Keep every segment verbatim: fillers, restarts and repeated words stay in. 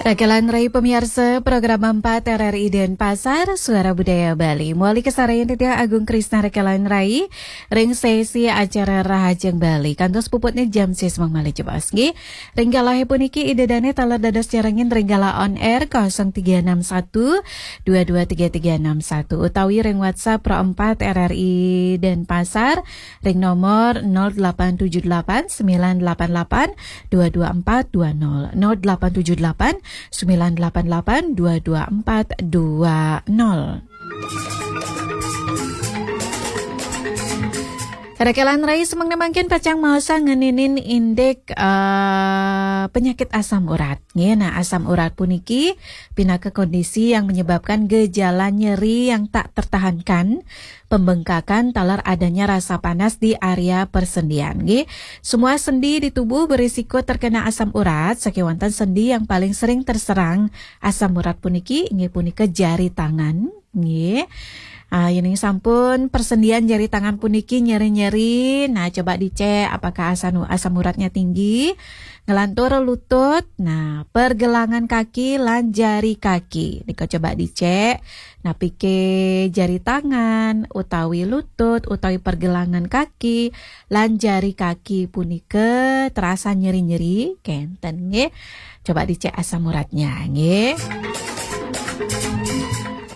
Rakelan Rai pamiarsa, program empat R R I Denpasar, Suara Budaya Bali. Mawali kasarenggan titiang Agung Krisna Rakelan Rai ring sesi acara Rahajeng Bali. Kantos puputnya jam sis mangmalih jebos, nggih. Ring galahé puniki Ida Dané taler dados nyarengin ring galah on air kosong tiga enam satu dua dua tiga tiga enam satu utawi ring WhatsApp Pro empat R R I Denpasar ring nomor nol delapan tujuh delapan sembilan delapan delapan dua dua empat dua nol, nol delapan tujuh delapan sembilan delapan delapan dua dua empat dua nol. Rakelan Rai, semeng mangkin pacang maosang ngeninin indik, eh, penyakit asam urat. Nggih, nah, asam urat puniki pinaka kondisi yang menyebabkan gejala nyeri yang tak tertahankan, pembengkakan taler adanya rasa panas di area persendian, nggih. Semua sendi di tubuh berisiko terkena asam urat, sakéwanten sendi yang paling sering terserang asam urat puniki inggih punika jari tangan, nggih. Ah, yéning sampun persendian jari tangan puniki nyeri-nyeri, nah, coba dicek apakah asam, asam uratnya tinggi. Nglantur lutut, nah, pergelangan kaki lan jari kaki. Nika coba dicek, napiké jari tangan, utawi lutut, utawi pergelangan kaki, lan jari kaki punika terasa nyeri-nyeri, kénten nggih. Coba dicek asam uratnya, nggih.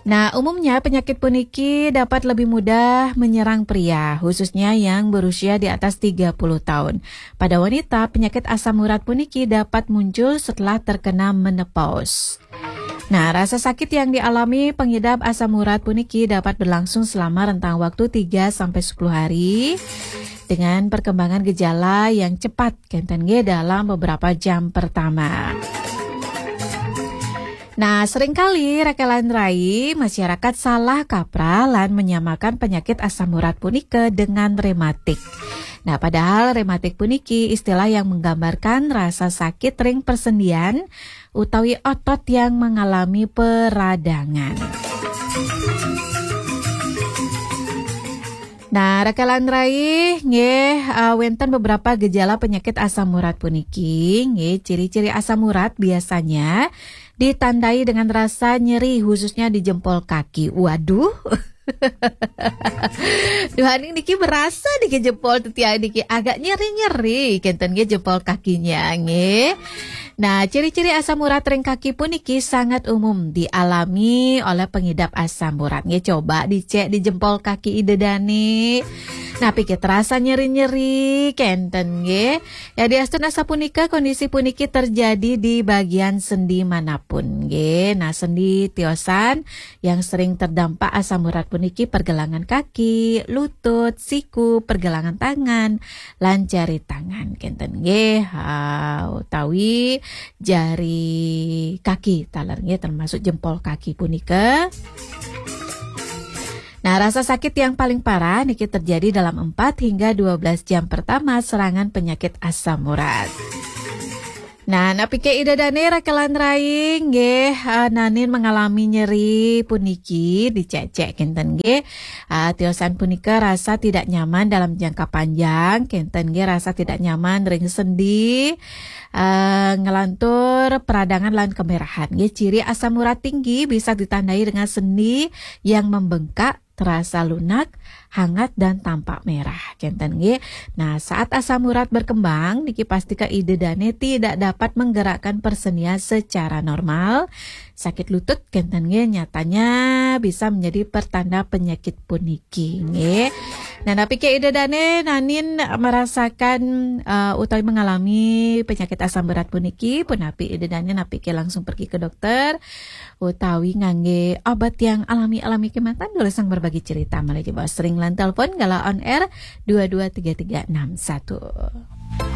Nah, umumnya penyakit puniki dapat lebih mudah menyerang pria, khususnya yang berusia di atas tiga puluh tahun. Pada wanita, penyakit asam urat puniki dapat muncul setelah terkena menopause. Nah, rasa sakit yang dialami pengidap asam urat puniki dapat berlangsung selama rentang waktu tiga sampai sepuluh hari dengan perkembangan gejala yang cepat, kénten nggih, dalam beberapa jam pertama. Nah, seringkali Rakelan Rai, masyarakat salah kaprah lan menyamakan penyakit asam urat punika dengan rematik. Nah, padahal rematik puniki istilah yang menggambarkan rasa sakit ring persendian utawi otot yang mengalami peradangan. Nah, Rakelan Rai, nggih, eh, wénten beberapa gejala penyakit asam urat puniki, nggih, ciri-ciri asam urat biasanya ditandai dengan rasa nyeri, khususnya di jempol kaki. Waduh. Duh, aning niki berasa niki jempol titiang niki agak nyeri-nyeri, kénten nggih jempol kakinya, nggih. Nah, ciri-ciri asam urat ring kaki puniki sangat umum dialami oleh pengidap asam urat. Nggih, coba dicek di jempol kaki Ida Dané. Napiké terasa nyeri-nyeri, kénten nggih. Yadiastun asapunika, kondisi puniki terjadi di bagian sendi manapun, nggih. Nah, sendi tiosan yang sering terdampak asam urat puniki pergelangan kaki, lutut, siku, pergelangan tangan, lan jari tangan, kénten nggih. Ha, utawi jari kaki taler nggih, termasuk jempol kaki punika. Nah, rasa sakit yang paling parah niki terjadi dalam empat hingga dua belas jam pertama serangan penyakit asam urat. Nah, napiké Ida Dané Rakelan Rai nggih, eh, nanin mengalami nyeri puniki, dicek-cek kénten nggih. Ah, tiosan punika rasa tidak nyaman dalam jangka panjang, kénten nggih, rasa tidak nyaman ring sendi, eh, nglantur peradangan lan kemerahan nggih. Ciri asam urat tinggi bisa ditandai dengan sendi yang membengkak, terasa lunak, hangat, dan tampak merah, kénten nggih. Nah, saat asam urat berkembang, niki pastika Ida Dané tidak dapat menggerakkan persendian secara normal. Sakit lutut, kénten nggih, nyatanya bisa menjadi pertanda penyakit puniki, nggih. Nah, napiké Ida Dané nanin merasakan, eh, utawi mengalami penyakit asam urat puniki, punapi Ida Dané napiké langsung pergi ke dokter utawi nganggé obat yang alami-alami kémanten, durusang berbagi cerita malih jebos ring line telepon galah on air dua dua tiga tiga enam satu.